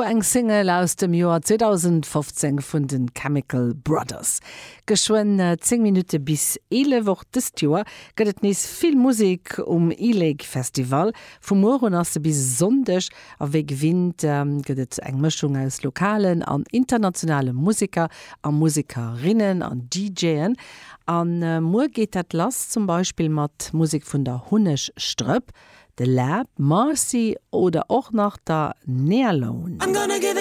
eng Single aus dem Joer 2015 vun de Chemical Brothers. Geschwënn 10 Minutte bis 11. Och dëst Joer gëtt et nees vill Musek um e-Lake Festival. Vu muer un ass e bis e Sonndeg a wéi gewinnt gëtt et eng Mëschung aus lokalen an internationale Museker a Musekerinnen an DJen. A muer geet dat lass zum Beispill mat Musek vun der Hunnegstrëpp, de Läb, Marcy oder och nach der Nealone.